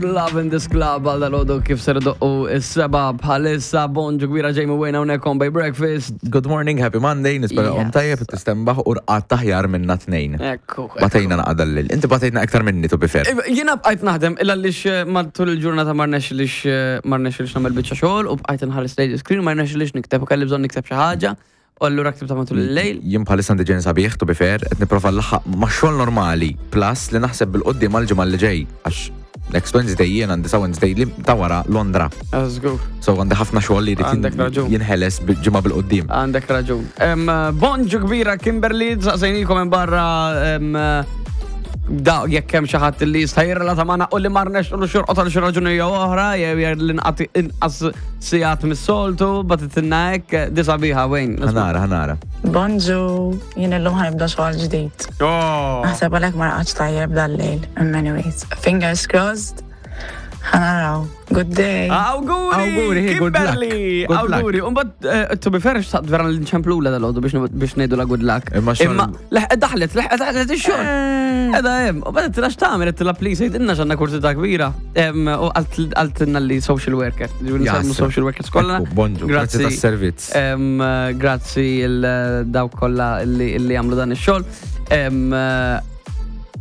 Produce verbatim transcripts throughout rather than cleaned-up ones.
Love in this club għal dal-għodu kif ser doqqu is-sebgħa bħalissa. Bonġu kbira, Jamie Wayne hawnhekk on Bay Breakfast. Good morning, happy Monday, nispera Yes. om tajjeb, tistembaħ u rqadt aħjar minna tnejn. Ekku. Batejna naqra dal-lejl. Inti batejna iktar minni, to be fair. Jiena bqajt naħdem illa lix matul il-ġurnata ma rnexxilix ma rnexxilix nagħmel biċċa xogħol u bqajt nħares lejn screen, ma rnexxilix nikteb u kelli bżonn nikteb xi ħaġa u allura ktibta matul il-lejl. Jien bħalissa għandi ġen sabiħ, to be fair, qed nipprova nlaħħaq ma' xogħol normali, plus li naħseb bil-quddiem għal-ġimgħa li ġej, għax next Wednesday jien għandi sa Wednesday li ta' wara Londra. Żgur. So għandi ħafna xogħol li jrid Għandek raġun. jinħeles ġimgħa bil-quddiem. Għandek raġun. Em, Bonġu kbira, Kimberly, saqsejnikom minn barra em, da jekk hemm xi ħadd li jista' jirrelata magħna u li ma rnexxilux jorqod għal xi raġuni jew oħra jew jew li nqati inqas sigħat mis-soltu, bagħtitilna hekk di sabiħa wejn. Ħa nara, ħa nara. Bonġu, jien illum ħa nibda xogħol ġdid. Oh. Naħseb għalhekk ma raqadx tajjeb dal-lejl. In many ways. Fingers crossed. Ħa naraw. Good day. Awguri! Awguri, hey, good luck. Kimberly! Good luck. Awguri! Umbagħad, to be fair, xtaqt vera nċemplula dal-għodu biex biex ngħidu la good luck. Imma xogħol- Imma, leħ, daħlet, leħ, daħlet ix-xogħol. Edha hemm, u bad tila x'tagħmel, tila please, għidilna x'għandna kursità kbira. Em, U qaltilna li social worker. Ġifieri nsemmu Jasra. social workers kollha. Ekku, bonġu, grazzi tas-servizz. Em, Grazzi il dawk kollha li li jagħmlu dan ix-xogħol. Em,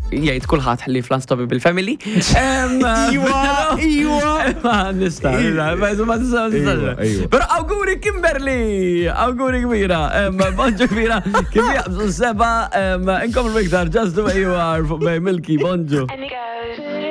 Jgħid kulħadd li fl-Unstoppable Family. Em, Iwa, iwa. Ma nista, ma ma nista, ma nista. Iwa, iwa. Pero awguri, Kimberly, awguri kbira, Em, bonġu kbira, kif jaqbżu sebgħa, em, inkomplu iktar Just the Way You Are fuq Bay Milky, bonġu. Any girl